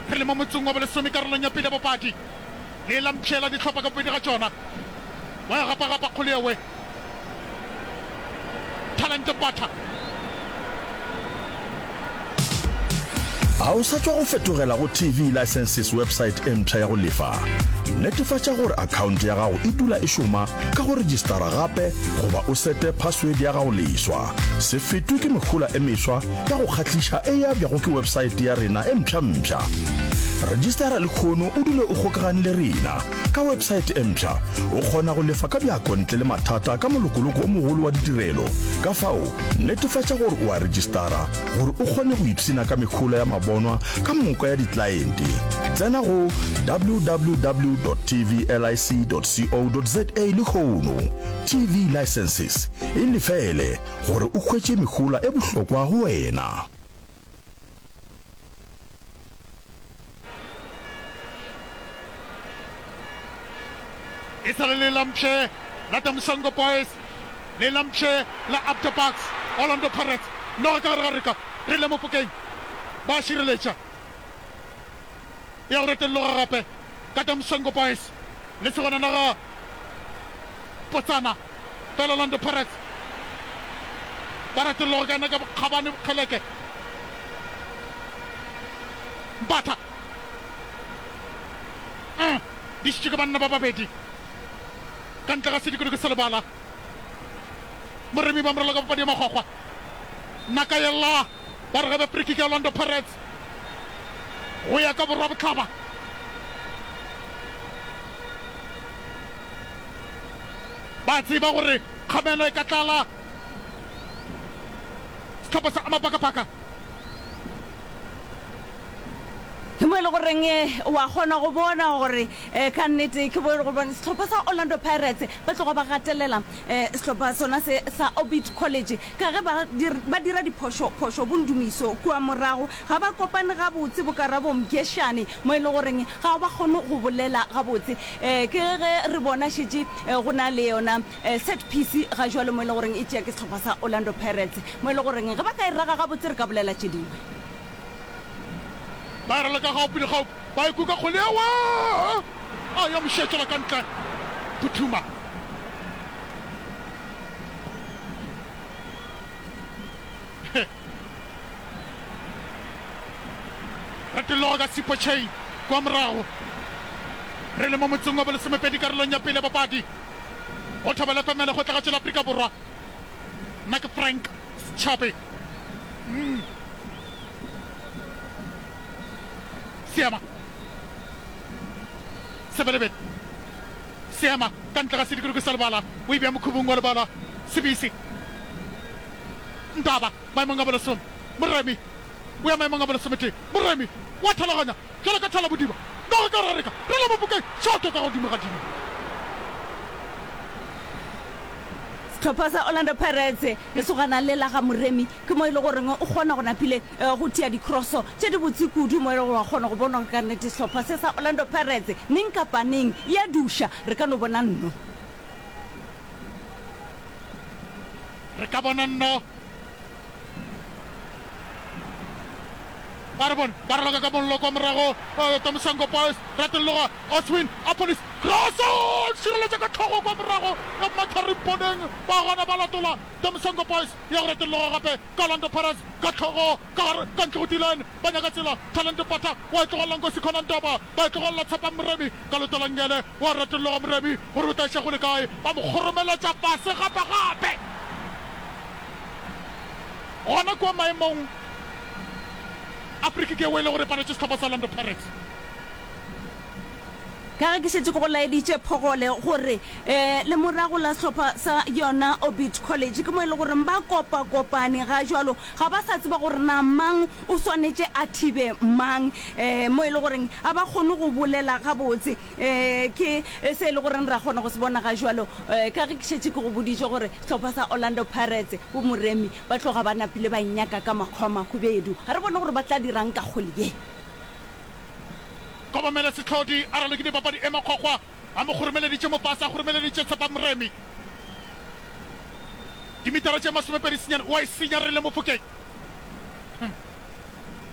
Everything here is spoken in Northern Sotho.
Re le mo motsong wa bolesome karolong ya pele ya papadi. Le la mpšhela dihlopha ka bobedi ga tšona. Wa e gapa-gapa kgole ewe. Talente Mbatha. A o sa tšwa go fetogela go TV Licenses website e mpsha ya go lefa? Netefatša gore akhaonte ya gago e dula e šoma ka go rejistara gape goba o sete password ya gago leswa. Se fetwe ke mehola e meswa ya go kgahliša e abjago ke websaete ya rena e mpsha-mpsha. Rejistara lehono o dule o kgokagane le rena. Ka websaete e mpsha, o kgona go lefa ka bjako ntle le mathata ka molokoloko o mogolo wa ditirelo. Ka fao, netefatša gore o a rejistara gore o kgone go ipshina ka mehola ya mabonwa ka moka ya diklaente. Tsena go www.tvlic.co.za lehono. TV Licenses, e lefele gore o hwetše mehola e bohlokwa go wena. E sa le le lampše la Damsongo Boys, le lampše la Abda Bucks, Orlando Pirates, noga ka gare ga reka, re le Mofokeng, ba šireletša. Ya go retelloga gape ka Damsongo Boys, le segona naga Potsana, fela Orlando Pirates ba retelloga ka yena ka bokgabane bokgeleke. Mbatha. Mm, di šitše ke banna ba babedi ka ntle ga sedikodiko sa lebala. Moremi ba moraloka papadi ya makgwakgwa. Naka yella ba re gabe free kick ya Orlando Pirates go ya ka borwa bohlaba. Ba tseba gore kgamelo e ka tlala sehlopha sa Amapakapaka. Ke mo e le goreng wa kgona go bona gore ka nnete ke bo e le gore sehlopha sa Orlando Pirates ba tloga ba gatelela sehlopha sona se sa Orbit College ka ge ba ba dira diphošo phošo bondumiso kua morago ga ba kopane gabotse bo Karabo Mgeshane mo e le goreng ga ba kgone go bolela gabotse ke ge re bona šetše go na le yona Set piece ga jwale mo e le goreng e tšea ke sehlopha sa Orlando Pirates, mo e le goreng ge ba ka e raga gabotse re ka bolela tše dingwe. Ba e raloka gaupi le gaupi, ba e kuka kgole ewa a ya mošetšela ka ntle. Phuthuma. Retologa ka Sipho Chain kwa morago. Re le mo motseng wa bolesomepedi karolong ya pele ya papadi. Go Thobela FM ya Lekgotlagatšo la Afrika Borwa. Nna ke Frank Setšhabe. Mm. Seema. Sebelebele. Seema ka ntle ga sedikoloki sa lebala. O e bea mokhubung wa lebala. Sebisi. Ndaba maemong a bolesome. Moremi o ya maemong a bolesometee. Moremi wa thalaganya bjalo ka thala bodiba. Noga ka rareka re le mofokeng šoto ka godimo ga dimo. Sehlopha sa Orlando Pirates, lesogana le la ga Moremi ke mo e le goreng o kgona go napile go tia dikroso tše dibotse kudu mo e le gore wa kgona go bona gore ka nnete sehlopha se sa Orlando Pirates neng kapa neng ya duša re ka no bona nno. Re ka bona nno. Ba re bone ba raloka ka mollo kwa morago. Tomisango Boys ratolloga Oswin Appollis Crosso šireletša ka tlhogo kwa morago ya Mathari Mponeng ba gona ba latola Tomisango Boys ya go ratolloga gape ka Orlando Pirates ka tlhogo ka gare ka ntle go D-line ba nyaka tsela Talente Pata wa e tlogelela Nkosi Khona Ndaba ba e tlogelela Tshepang Moremi ka leoto la nngele wa ratolloga Moremi gore o tla iša go le kae ba mo kgoromeletša fase gape gape Gona kua maemong a free-kick yeo e le gore e paletše sehlopha sa Orlando Pirates. Ka ge ke šetše ke go laeditše Phogole gore lemorago la sehlopha sa yona Orbit College ke mo e le goreng ba kopakopane ga jwalo, ga ba sa tseba gore na mang o swanetše a thibe mang, mo e le goreng ga ba kgone go bolela gabotse. Ke se e le goreng ra kgona go se bona ga jwalo ka ge ke šetše ke go boditše gore sehlopha sa Orlando Pirates, bo Moremi, ba tloga ba napile ba nnyaka ka makgwa a mahubedu. Ga re bone gore ba tla dirang ka kgole ye. Kobamela Sehlodi a ralokile papadi e makgwakgwa, a mo kgoromeleditše mo fase, a kgoromeleditše Tshepang Moremi dimitara tše 28 o a e senya re le Mofokeng.